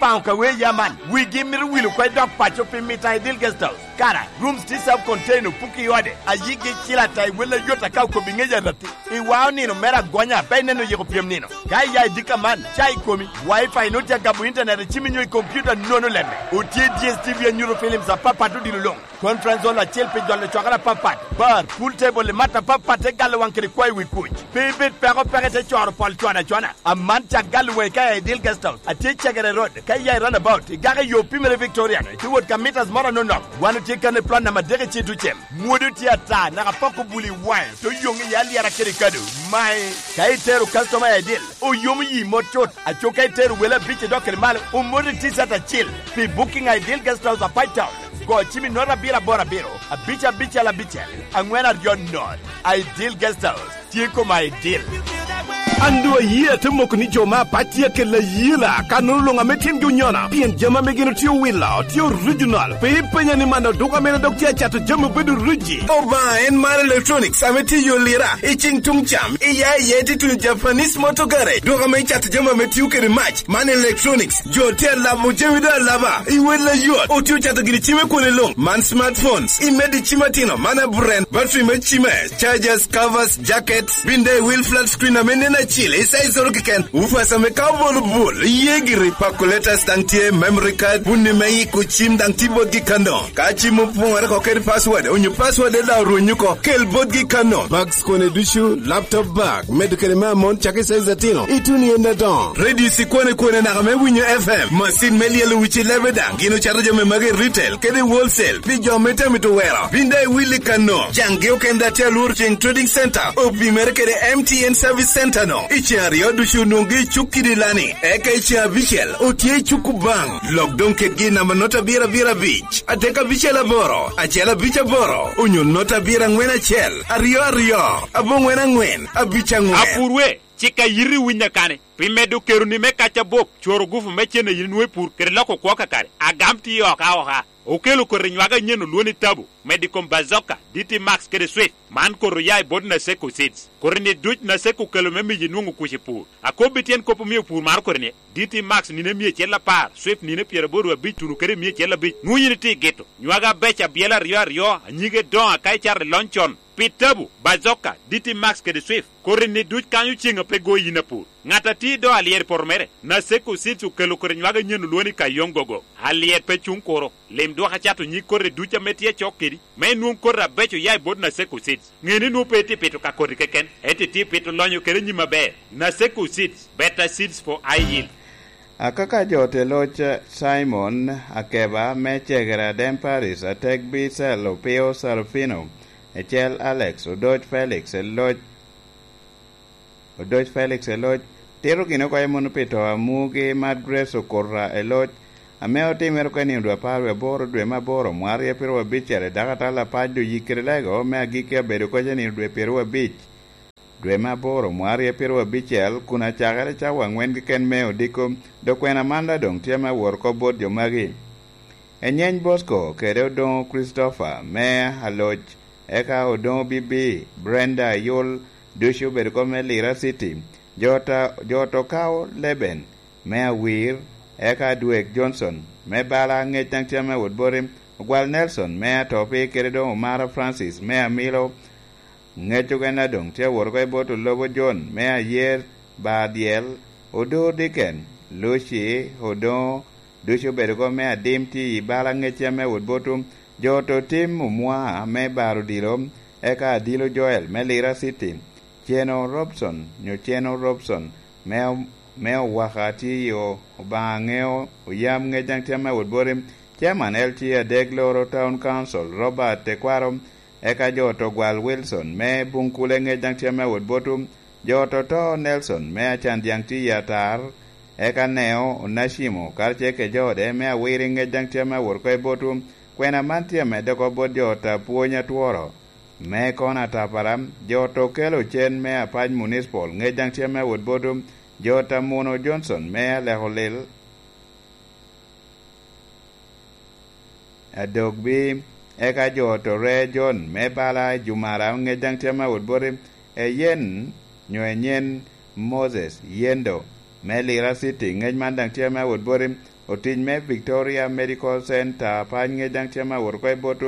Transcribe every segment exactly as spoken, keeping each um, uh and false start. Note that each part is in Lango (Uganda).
Paŋo ka wee ya man, wigi mito wilo kwe dok paco pi mito a Ideal Guest House. Kara, rooms tye self contained, opuki i ode, ayigi cil ata i wel ayot aka okobi ŋec aratti. I wao nino mere agonya, pe ineno yiko pyem nino. Ka iya i dika man, ca i komi, wifi nut ya gabo internet i cimi nyo i computer nono lemme. Otye D S T V anyuto films apapat odilo luŋ. Conference hall acel pi jolo cwakere apapat. Bar, pool table i mat apapat te galo waŋ kede kwayo wi kuc. Pe ibed peko peke te coro pol cwana cwana. Aman cak galo waŋi ka i Ideal Guest House. Atye Cegere Road, ka iya i runabout, igako i yo pimere Victoria, ite wot ka meters moro anonok. Wan otye kan i plot namba adek i Citucem. Mwodo tye ata, naka poko buli i waŋe, to yoŋ i alyera kede kado. Mae, ka itero customer i Ideal, oyomo yi mot cut. Aco ka itero wele abic i dok kede malo, omoti T-shirt acil. Pi booking a Ideal Guest House a Pine Town, go cim i nota abiro aboro abiro, abic abicel abicel, aŋwen aryo not. Ideal Guest House, tye koma Ideal. An doŋ ayie ate moko ni jo me apac tye akella ayela, ka nono luŋ ame tyengi onyona, pien jami ame gin otye owilo, tye original. Pe ipenya ni man oduka mene dok tye acato jami obedo riji. Obaŋa en mar electronics ame tye i yo lira, i ceng tuŋ cam, i ya i ya ite tuno Japanese Motor Garage, duka ame icato jami ame tio kede mac, man electronics. Jo tye alamo jami doŋ alaba, i wel ayot, otye ocato gini cime kwone luŋ, man smartphones, imedde cim atino, man aburen, battery me cime, chargers, covers, jackets, bin daŋ i wil flat screen ame nen acil, i size oro keken, woofers ame ka obolo bul, iye giri, calculators daŋ tye, memory card, bunni me iko cim daŋ tye botgi kano. Ka cim opoŋere oko kede password, onyo password daŋ orwenyo oko, kel botgi kano. Bags kone ducu, laptop bag, medo kede me amon cako i size atino, ituno i en adoŋo. Radio cikwane kwane naka me winyo F M, macin me lyelo wic i lebe daŋ, gin ocato jami magi i retail kede i wholesale pi jo me tami to wero. Bin daŋ iwil i kano, caŋgi okende atye alworo ceng Trading Center, opimere kede M T N Service Center no. I ceŋ aryo ducu onwoŋgi i cuk kidi lani, eka i ceŋ abicel otye i cuk Kubaŋ. Lok doŋ kedgi i namba nota abiro abiro abic, adek abicel aboro, acel abic aboro, onyo nota abiro aŋwen acel, aryo aryo, aboŋwen aŋwen, abic aŋwen. Apurwe, cik a yiti winyo kani, pi medo keroni me kac abop, cworo gufu me cen a yin inwoŋo i pur, kede loko kwo kakare. Agam tye oka oka. Okelo koti nywak anyen olwoni Tabu, medo i kom Bazooka, D T Max kede Swift. Man koti oya i bot Naseko Seeds. Koti-ni duc Naseko okelo me miyo inwoŋo kuc i pur. Akobbi tyen kop omio pur maro koti-ni, D T Max nino emia acel apar, Swift nino pyeraboro abic tuno kede emia acel abic. Nwoŋo yin itye i gito. Nywak abeco abyela aryo aryo, anyige doŋo aka icato i lony con. Pi Tabu, Bazooka, D T Max kede Swift, koti-ni duc kanyo ceŋ a pe go yin apur. Ŋat a tye i do alyet i poto mere, Naseko Seeds okelo koti nywak anyen olwoŋo ni Kayong Gogo. Alyet pe cuŋ kuro. Lim dwok acato nyig koti duc ame tye acok kedi, me inwoŋ koti abeco oya i bot Naseko Seeds. Ŋe ni nwoŋo pe itye pito ka koti keken, ento itye pito lonyo kede nyim aber. Naseko Seeds, better seeds for high yield. Akaka jo te loc Simon Akeba me Cegere Adem Paris, Atek Bicel, Opio Sarufino, Ecel Alex, Odoc Felix, Eloc Odoc Felix Eloc, tito gin oko i munu pi to a mugi Mad Grace Okota Eloc, ame otimere oko i nino dwe apar wie aboro dwe me aboro mwaka aryo pyeraryo abicel i dakatal apac Oyik kede Lego me agikki abedo koc i nino dwe pyeraryo abic dwe me aboro mwaka aryo pyeraryo abicel, kun acakere cawa aŋwen keken me odiko, dok kwena man daŋ doŋ tye me awot oko bot jo magi. Enyeny Bosco kede Odoŋo Christopher me Aloc, eka Odoŋo Bibi, Brenda Ayol, ducu obedo kop me Lira City. Jo ta-, jo to kao Leben me Awir, eka Dwek Johnson me Bala, Ŋec daŋ tye me wot boti, Ogwal Nelson me Atopi, kede doŋ Omara Francis me Amilo, Ŋec okene doŋ tye awot oko i bot Olobo John me Ayer, Badyel, Odo Diken, Luci, Odoŋo, ducu obedo oko me Adim tye i bala Ŋec ame wot botwu, jo to tim Omwa me Bar Odilo, eka Adilo Joel me Lira City, Ceno Robson, nyo Ceno Robson, me, me Owaka tye i o-, Obaŋa Ŋeo, Oyam Ŋec daŋ tye ame wot boti, Chairman L T A adek loro Town Council, Robert Tekwaro, eka jo to Gwal Wilson me Buŋkule Ŋec daŋ tye ame wot botwu, jo to to Nelson me Acan Dyaŋ tye i Atar, eka Neo Onacimo karacel kede jo ode me Awiri Ŋec daŋ tye ame wot oko i botwu. Kwena man tye amedde oko bot jo ta pwony atworo me Kona Tapara, jo to kelo cen me Apac Municipal Ŋec daŋ tye ame wot botwu, jo ta Muno Johnson me Aleko Lil, Adogbi, eka jo to Ree John me bala Jumara Ŋec daŋ tye ame awot boti, Eyen, nyo Enyen Moses Yendo me Lira City Ŋec man daŋ tye ame awot boti, otic me Victoria Medical Center, Apac Ŋec daŋ tye ame awot oko i bot,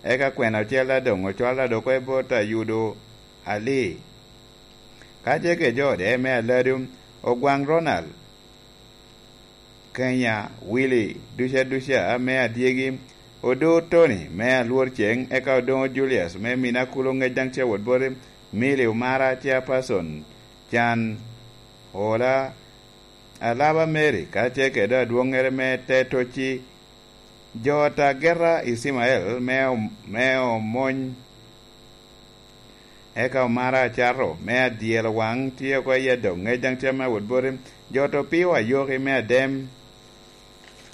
eka kwena ocel daŋ doŋ ocwalo daŋ oko i bot Ayudo Ali. Ka tye kede jo ode me Aladu, Ogwaŋ Ronald, Kenya, Willy, duca duca me Adyegi, Odo Tony me Alworceng, eka Odoŋo Julius me Minakulu Ŋec daŋ tye awot boti, Milly Omara, Chairperson, Can Ola, Alaba Mary, ka tye kede adwoŋŋere me Tetoci, jo ot Ageta Icimael me om-, me Omony, eka Omara Acato me Adyelo Waŋ tye oko i Adoŋ Ŋec daŋ tye ame awot boti, jo ot Opio Ayoki me Adem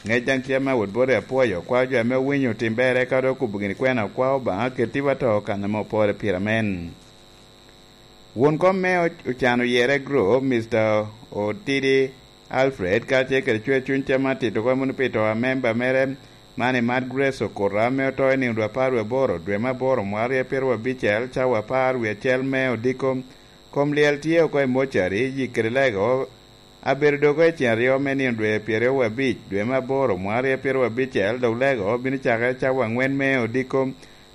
Ŋec daŋ tye ame awot boti, apwoyo kwa jo ame owinyo tim ber, eka dok okubo gini kwena, okwa Obaŋa keti wa to kan ame opore pire amen. Won kom me o-, Ocan Oyere Group, Mister Otidi Alfred, ka tye kede cwer cuny tye me tito kop moni pi to a memba mere, man i Mad Grace Okura, ame oto i nino dwe apar wie aboro, dwe me aboro, mwaka aryo pyeraryo abicel, cawa apar wie acel me odiko. Kom lyel tye oko i mocari, yik kede lego, abedo dok i cen aryo me nino dwe pyeraryo wie abic, dwe me aboro, mwaka aryo pyeraryo abicel, dok lego bino cakere cawa aŋwen me odiko.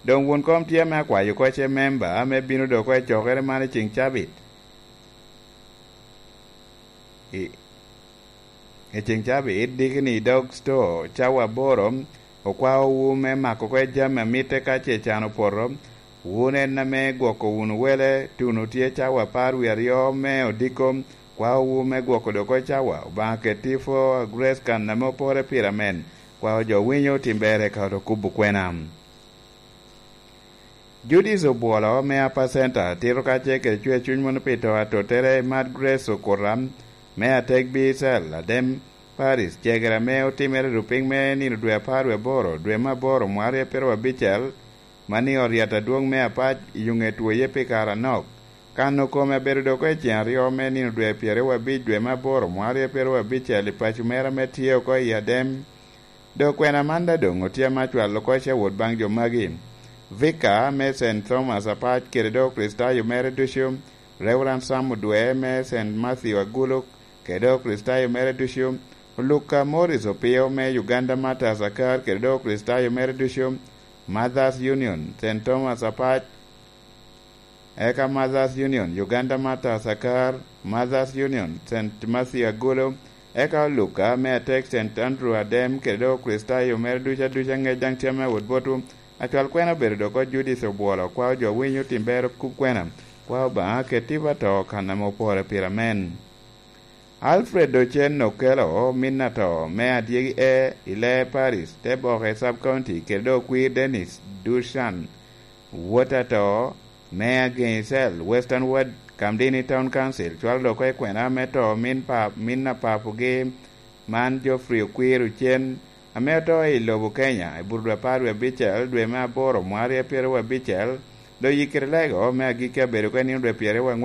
Doŋ won kom tye ame akwayo oko ce memba ame bino dok oko i cokere man i ceŋ cabit. I, i ceŋ cabit, dikini i dog sto, cawa aboro, okwaowu me mako oko jami a mitte ka ce can opoto. Wun en ame gwoko wunu wele, tuno tye cawa apar wie aryo me odiko, kwaowu me gwoko dok oko cawa. Obaŋa keti i pwo, Grace kan ame opore pire amen. Kwao jo winyo tim ber eka dok kubo kwena. Judith Obwolo me Upper Center tito kacel kede cwer cuny moni pi to atottere i Mad Grace Okuta me Atek Bicel, Adem Paris, cegere ame otimere rupiny me nino dwe apar wie aboro, dwe me aboro, mwaka aryo pyeraryo abicel, man i ot yat adwoŋ me Apac i Yuŋet Woye pi kare anok. Kano kome abedo dok i ceŋ aryo me nino dwe pyeraryo abic, dwe me aboro, mwaka aryo pyeraryo abicel, i paco mere ame tye oko i Adem. Dok kwena man daŋ doŋ otye ame acwalo oko ce awot baŋ jo magi. Vika me Saint Thomas Apac kede dok Kricitayo mere ducu, Reverend Sam Odwe me Saint Matthew Aguluk kede dok Kricitayo mere ducu, Luka Morris Opio me Uganda Martyrs Akar kede dok Kricitayo mere ducu, Mothers Union, Saint Thomas Apac, eka Mothers Union, Uganda Martyrs Akar, Mothers Union, Saint Matthew Agulu, eka Oluka me Atek, Saint Andrew Adem, kede dok Okricitayo mere ducu aduca Ŋec daŋ tye ame awot botwu. Acwal kwena obedo dok oko Judith Obwolo, kwao jo winyo tim ber kub kwena, kwao Obaŋa keti wa to kan ame opore pire amen. Alfred Ocen Okello, min ato me Adyegi E i Lee Parish, Teboke Sub County, kede dok okwir Dennis Dushan, wot ato me Ageŋi Cell, Western Ward, Kamdini Town Council, cwalo dok oko i kwena me to min pa, min a papogi man Geoffrey Okwir Ocen, ame oto i lobo Kenya i buto dwe apar wie abicel, dwe me aboro, mwaka aryo pyeraryo abicel, dok yikkere lego me agikki abedo oko i nino dwe pyeraryo